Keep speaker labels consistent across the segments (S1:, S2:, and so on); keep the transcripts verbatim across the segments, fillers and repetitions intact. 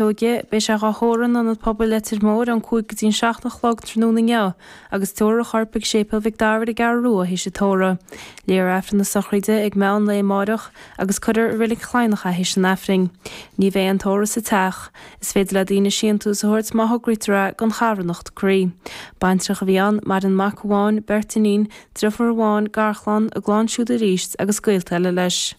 S1: Óige, beidh sé dhá thórramh in Ionad Pobail Leitir Móir ón cúig go dtí an seacht a chlog tráthnóna inniu agus tabharfar a chorp ag Séipéal Mhic Dara ar an gCeathrú Rua théis an tórraimh. Léifear Aifreann na sochraide ag meán lae amáireach agus cuirfear i Reilig Chladhnach é théis an Aifrinn. Ní bheidh aon tórramh sa teach. Is féidir le daoine síntiús a thabhairt má thograítear é don charthanacht Croí. Baintreach a bhí ann, maireann mac amháin, beirt iníon, driofúr amháin, garchlann, a gclann siúd arís agus gaolta eile leis.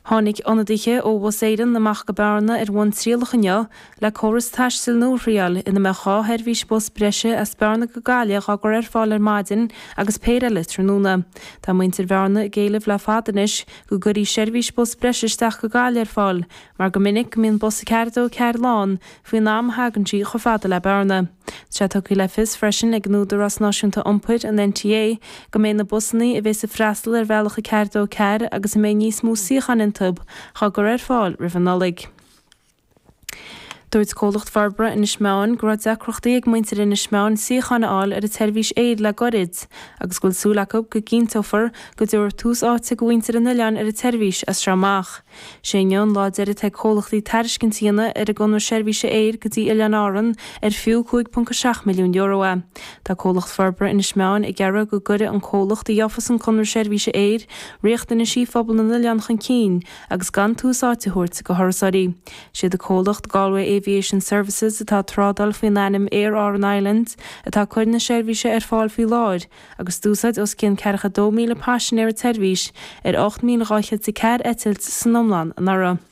S1: Tháinig ionadaithe ó Bhus Éireann amach go Bearna ar bhonn trialach inniu le córas taistil nua a thriail ina mbeadh dhá sheirbhís bus breise as Bearna go Gaillimh á gcur ar fáil ar maidin agus péire eile tráthnóna. Tá muintir Bhearna ag éileamh le fada anois go gcuirfí seirbhís bus breise isteach go Gaillimh ar fáil mar go minic go mbíonn bus a ceathair dó ceathair lán faoin am a thagann sí chomh fada le Bearna. Tá sé tugtha le fios freisin ag an Údarás Náisiúnta Iompair, an NTA, go mbeidh na busanna a bheas ag freastal ar bhealach a ceathair dó ceathair agus a mbeidh níos mó suíochán iontu á gcur ar fáil roimh an Nollaig. Dúirt comhlacht forbartha Inis Meáin go raibh deacrachtaí ag muintir Inis Meáin suíocháin a fháil ar an tseirbhís aeir le goirid agus go bhfuil súil acu go gcinnteofar go dtabharfar tús áite do mhuintir an oileáin ar an tseirbhís as seo amach. Sé inniu an lá deiridh atá ag comhlachtaí tairiscint a dhéanamh ar an gconradh seirbhíse aeir go dtí Oileáin Árann ar fiú cúig ponc a seacht milliún euro é. Tá comhlacht forbartha Inis Meáin ag iarraidh go gcuirfidh an comhlacht a gheofas an conradh seirbhíse aeir riachtanaisí phobal na n-oileán chun cinn agus gan tús áite a thabhairt do thurasóirí. Siad an comhlacht Galway Aviation Services atá ag trádáil faoin ainm Aer Arann Islands atá ag cur na seirbhíse ar fáil faoi láthair agus d'úsáid os cionn ceathracha dó míle paisinéir an tseirbhís ar ocht míle dhá chéad is a ceathair eitilt san iomlán anuraidh.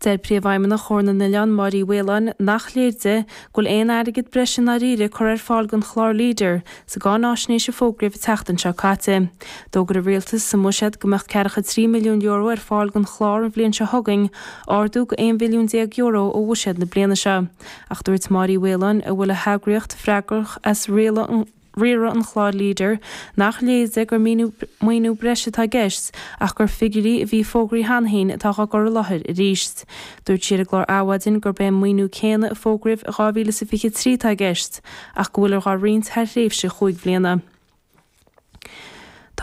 S1: Deir Príomhfheidhmeannach Chomhar na nOileán, Máire Uí Mhaoláin, nach léir di go bhfuil aon airgead breise i ndáiríre curtha ar fáil don chlár Leader sa gcáináisnéis a fógraíodh an tseachtain seo caite. D'fhógair an Rialtas sa mBuiséad go mbeadh ceathracha trí milliún euro ar fáil don chlár an bhliain seo chugainn, ardú go aon mhilliún déag euro ó bhuiséad na bliana seo. Ach dúirt Máire Uí Mhaoláin, a bhfuil a heagraíocht freagrach as riaradh an chláir Leader, nach léir di gur maoiniú breise atá i gceist ach gur figiúirí a bhí fógraithe cheana féin atá á gcur i láthair arís. Dúirt sí ar an gclár Adhmhaidin gurb é an maoiniú céanna a fógraíodh i dhá mhíle is a fiche trí atá i gceist ach go bhfuiltear dhá roinnt thar thréimhse chúig bhliana.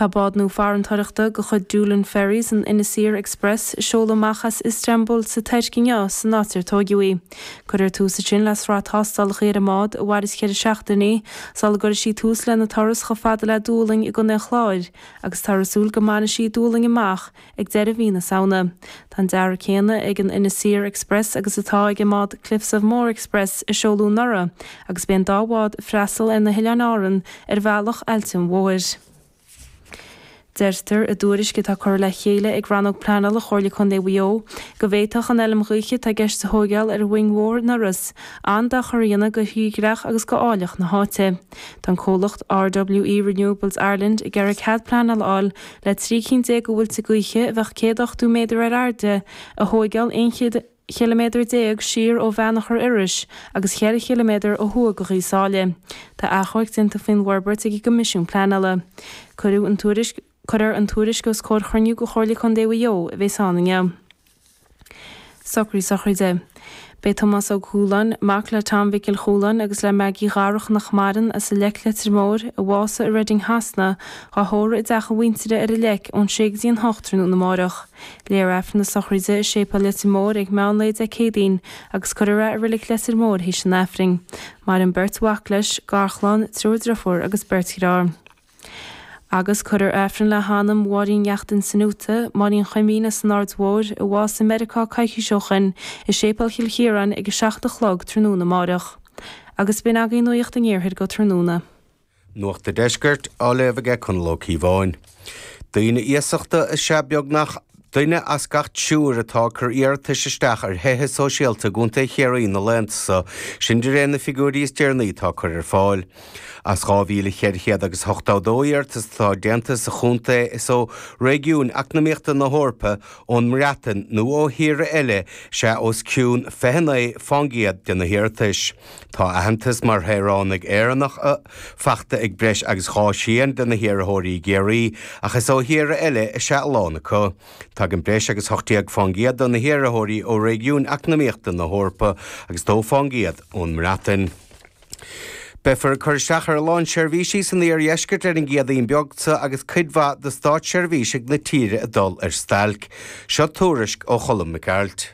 S1: Tá bád nua farantóireachta de chuid Doolin Ferries, an Inis Oírr Express, ag seoladh amach as Istanbul sa Tuirc inniu san áit ar tóigeadh í. Cuirfear tús ansin le sraith tástálacha ar an mbád a mhairfeas ceithre seachtainí sula gcuirfidh sí tús lena turas chomh fada le Dúlaing i gContae an Chláir agus táthar ag súil go mbainfidh sí Dúlaing amach ag deireadh mhí na Samhna. Tá an dearadh céanna ag an Inis Oírr Express agus atá ag an mbád Cliffs of Moher Express a seoladh anuraidh agus beidh an dá bhád ag freastal ar na hOileáin Árann ar bhealach Aillte an Mhothair. Deirtear i dtuairisc atá curtha le chéile ag Rannóg Pleanála Chomhairle Contae Mhaigh Eo go bhféadfadh an fheilm ghaoithe atá i gceist a thóigeáil ar an Mhoing Mhór in Iorras an-dochar a dhéanamh do thírdhreach agus go áilleacht na háite. Tá an comhlacht RWE Renewables Ireland ag iarraidh cead pleanála a fháil le trí cinn déag de mhuilte gaoithe a bheadh céad ochtó méadar ar airde a thóigeáil aon chéad chiliméadar déag siar ó Bheannachar Iorrais agus cheithre chiliméadar ó thuaidh de Ghaoth Sáile. Tá achomharc déanta faoin bhforbairt ag an gCoimisiún Pleanála. Cuireadh an tuairisc Cuirfear an tuairisc os comhair chruinniú de Chomhairle Contae Mhaigh Eo a bheas ann inniu. Socruithe sochraide. Beidh Tomás Ó Cualáin, mac le Tom Mhicil Chualáin agus le Maggie Dharach nach maireann, as an Leic Leitir Móir, a bhásaigh i Reading Shasana, dhá thórramh i dteach a mhuintire ar an Leic ón sé go dtí an hocht tráthnóna amárach. Léifear Aifreann na sochraide i Séipéal Leitir Móir ag meán lae Dé Céadaoin agus cuirfear é i Reilig Leitir Móir théis an Aifrinn. Maireann beirt mhac leis, garchlann, triúr driofúr agus beirt dheartháir. Agus cuirfear Aifreann le hanam Mháirín Neachtain Sanuta, Máirín Chuimín as an Aird Mhóir, a bhásaigh i Meiriceá coicís ó shoin, i Séipéal Chill Chiaráin ag a seacht a chlog tráthnóna amáireach. Agus b'in agaibh Nuacht an Iarthair go tráthnóna.
S2: Nuacht an Deiscirt á léamh aige Conall Ó Cíobháin. Daoine iasachta is ea beagnach duine as gach triúr atá ag cur iarratais isteach ar thithe sóisialta i gContae Chiarraí na laethanta seo, sin de réir na figiúirí is deireanaí atá curtha ar fáil. As dhá mhíle cheithre chéad agus ochtó dó iarratas atá déanta sa chontae is ó réigiúin eacnamaíochta na hEorpa, ón mBreatain nó ó thíortha eile is ea os cionn fiche naoi fán gcéad de na hiarratais. Tá aitheantas mar shaoránaigh Éireannacha faighte ag breis agus dhá thrian de na hiarrthóirí i gCiarraí, ach is ó thíortha eile is ea a lán acu. Tagann breis agus hocht déag fán gcéad de na hiarrthóirí ó réigiún eacnamaíochta na hEorpa agus dó fán gcéad ón mBreatain. Beifear ag cur isteach ar a lán seirbhísí san iardheisceart ar an gCéadaoin beag seo agus cuid mhaith de státseirbhísigh na tíre ag dul ar stailc. Seo tuairisc ó Cholm Mac Gearailt.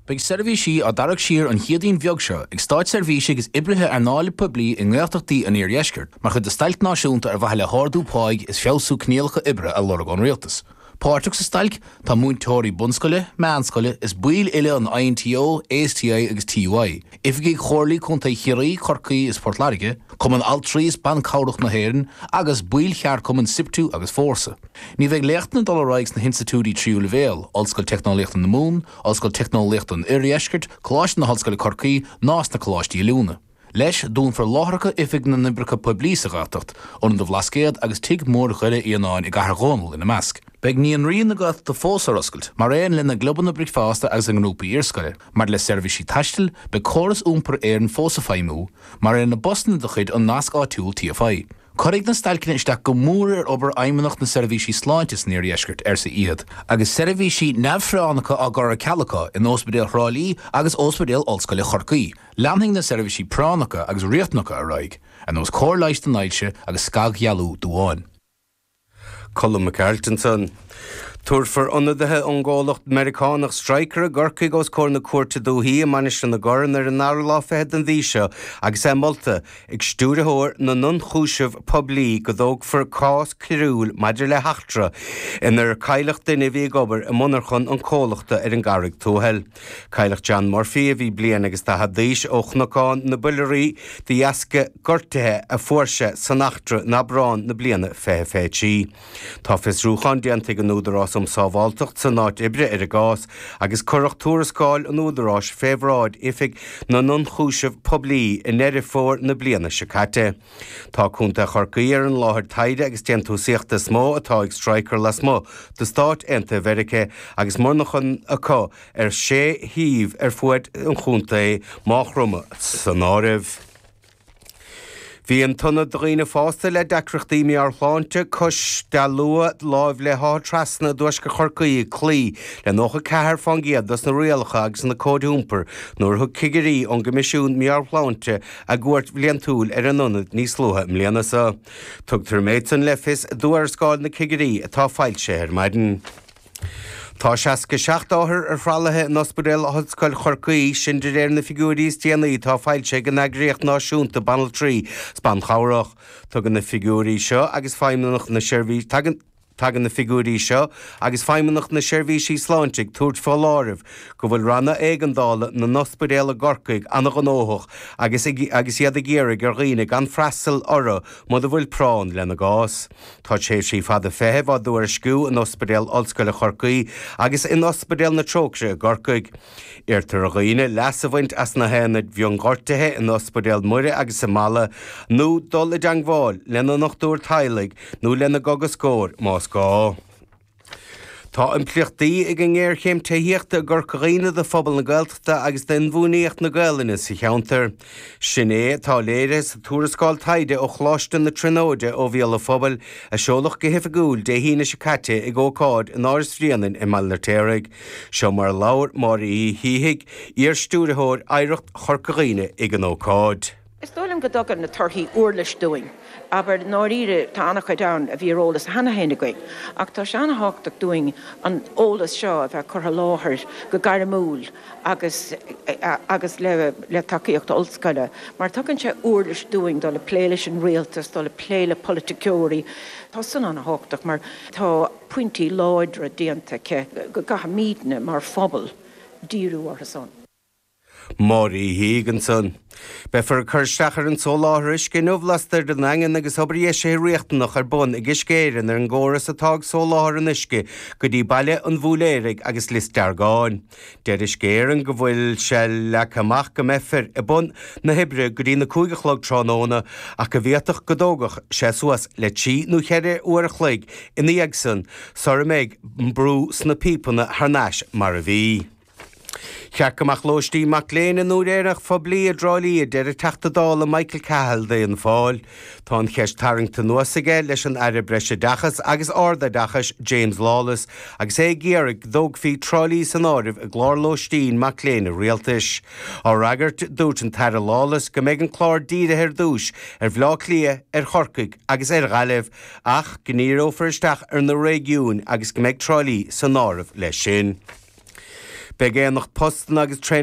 S3: Beidh seirbhísí á dtarrac siar an Chéadaoin bheag seo ag státseirbhísigh agus oibrithe earnála poiblí i nGaeltachtaí an Iardheiscirt, mar chuid de stailc náisiúnta ar mhaithe le hardú páigh is feabhsú coinníollacha oibre a lorg ón rialtas. Páirteach sa stailc tá múinteoirí bunscoile, meánscoile is baill uile an I N T O, A S T I agus T U I, Oifigigh Chomhairlí Contae Chiarraí, Chorcaí is Port Láirge, Cumann Altraí is Ban Cabhrach na hÉireann agus baill cheardchumann SIPTU agus Fórsa. Ní bheidh léachtanna ag dul ar aghaidh sna hinstitiúidí tríú leibhéal, Ollscoil Teicneolaíochta na Mumhan, Ollscoil Teicneolaíochta an Oirdheiscirt, Coláiste na hOllscoile Corcaigh ná sna coláistí oiliúna. Leis dúnfar láithreacha oifig na n-oibreacha poiblí sa Ghaeltacht, Ionad an Bhlascaoid agus Tigh Mór Dhoire Fhíonáin i gCathair Dhónaill ina measc. Beidh naíonraí na Gaeltachta fós ar oscailt, mar aon lena gclubanna bricfeasta agus a ngrúpaí iarscoile. Mar le seirbhísí taistil, beidh córas iompair Éireann fós ag feidhmiú, mar aon le busanna de chuid an nasc áitiúil T F I. Cuirfidh na stailceanna isteach go mór ar obair Fheidhmeannacht na Seirbhísí Sláinte san Iardheisceart, arsa iad, agus seirbhísí neamhphráinneacha á gcur ar ceal acu in Ospidéal Thrá Lí agus Ospidéal Ollscoile Chorcaí. Leanfaidh na seirbhísí práinneacha agus riachtanacha ar aghaidh, ar nós cóir leighis don ailse agus scagdhealú duáin.
S2: Colm McCarlton. Tabharfar ionadaithe ón gcomhlacht Meiriceánach Stryker i gCorcaigh os comhair na cúirte dúiche i Mainistir na gCorn ar an dara lá fichead den mhí seo agus é molta ag stiúrthóir na n-ionchúiseamh poiblí go dtógfar cás coiriúil maidir le heachtra inar cailleadh duine a bhí ag obair i monarcha an chomhlachta ar an gCarraig Tuathail. Cailleadh John Murphy a bhí bliain agus daichead d'aois ó Chnocán na Buillearaí de dheasca gortuithe a fuair sé san eachtra in Aibreán na bliana fiche fiche trí. Tá fiosrúchán déanta ag an Údarás um Sábháilteacht san áit oibre ar an gcás agus cuireadh tuarascáil an Údaráis fé bhráid oifig na n-ionchúiseamh poiblí i nDeireadh Fómhair na bliana seo caite. Tá Contae Chorcaí ar an láthair taighde agus déantúsaíochta is mó atá ag Stryker lasmuigh de Stáit Aontaithe Mheiriceá agus monarchana acu ar sé shuíomh ar fud an chontae, Maigh Chromtha san áireamh. Bhí an t-ionad do dhaoine fásta le deacrachtaí meabhairshláinte Cois Dalua láimh le hÁth Trasna i dtuaisceart Chorcaí ag cloí le nócha ceathair faoin gcéad dos na rialacha agus na cóid iompair nuair a thug cigirí ón gCoimisiún Meabhairshláinte a gcuairt bhliantúil ar an ionad níos luaithe i mbliana seo. Tugtar méid san le fios i dtuarascáil na cigirí atá foilsithe ar maidin. Tá seasca seacht othar ar thralaithe in Ospidéal Ollscoile Chorcaí, sin de réir na figiúirí is déanaí atá foilsithe ag an eagraíocht náisiúnta Banaltraí is Ban Chabhrach. Tugann na figiúirí seo agus Feidhmeannacht na Seirbhís tagann Tagann na figiúirí seo agus Feidhmeannacht na Seirbhísí Sláinte ag tabhairt foláireamh go bhfuil ranna éigeandála na n-ospidéal i gCorcaigh an-ghnóthach agus agus iad ag iarraidh ar dhaoine gan freastal orthu mura bhfuil práinn lena gcás. Tá tréimhsí fada feithimh á dtuairisciú in Ospidéal Ollscoile Chorcaí agus in Ospidéal na Trócaire i gCorcaigh. Iarrtar ar dhaoine leas a bhaint as na haonaid mhionghortuithe in Ospidéal Muire agus i Mala nó dul i dteagmháil lena ndochtúir teaghlaigh nó lena gcógasóir más gá. Tá impleachtaí ag an ngéarchéim tithíochta i gCorca Dhuibhne do phobal na Gaeltachta agus d'inbhuanaitheacht na Gaelainne sa cheantar. Sin é atá léirithe sa tuarascáil taighde ó Choláiste na Tríonóide ó Bhéal an Phobail a seoladh go hoifigiúil Dé hAoine seo caite ag ócáid in Áras Bhréanainn i mBaile an Fheirtéaraigh. Seo mar labhair Máire Uí Shíthigh, iar-stiúrthóir Oidhreacht Chorca Dhuibhne ag an ócáid.
S4: Is dóigh liom go dtugann na torthaí uirlis dúinn. Aber dáiríre tá an-chuid ann a bhí ar eolas cheana féin againn, ach tá sé an-tábhachtach dúinn an eolas seo a bheith curtha i láthair go gairmiúil agus agus le le tacaíocht ollscoile, mar tugann sé uirlis dúinn dul ag plé leis an rialtas, dul ag plé le polaiticeoirí. Tá san an-tábhachtach mar tá pointí láidre déanta go gcaithfimidne mar phobal díriú orthu san.
S2: Máire Uí Shíthigh ansan. Beifear ag cur isteach ar an soláthar uisce inniu lastoir den Daingean agus obair dheisithe riachtanach ar bun ag Uisce Éireann ar an gcóras atá ag soláthar an uisce go dtí baile an Bhúiléaraigh agus Lios Deargáin. Deir Uisce Éireann go bhfuil sé leagtha amach go mbeifear i mbun na hoibre go dtí na cúig a chlog tráthnóna ach go bhféadfadh go dtógfadh sé suas le trí nó ceithre uair a chloig ina dhiaidh san sara mbeidh brú sna píopanna thar n-ais mar a bhí. Cheart go mbeadh lóistín mac léinn in úinéireacht phoiblí i dTrá Lí a deir an Teachta Dála Michael Cahill d'Fhianna Fáil. Tá an cheist tarraingthe anuas aige leis an Aire Breisoideachais agus Ardoideachais James Lawless agus é ag iarraidh go dtógfaí Trá Lí san áireamh i gclár lóistín mac léinn an rialtais. Á fhreagairt dúirt an tAire Lawless go mbeidh an clár dírithe ar dtús ar Bhaile Átha Cliath, ar Chorcaigh agus ar Ghaillimh ach go ndíreofar isteach ar na réigiúin agus go mbeidh Trá Lí san áireamh leis sin. Beidh aonach postanna agus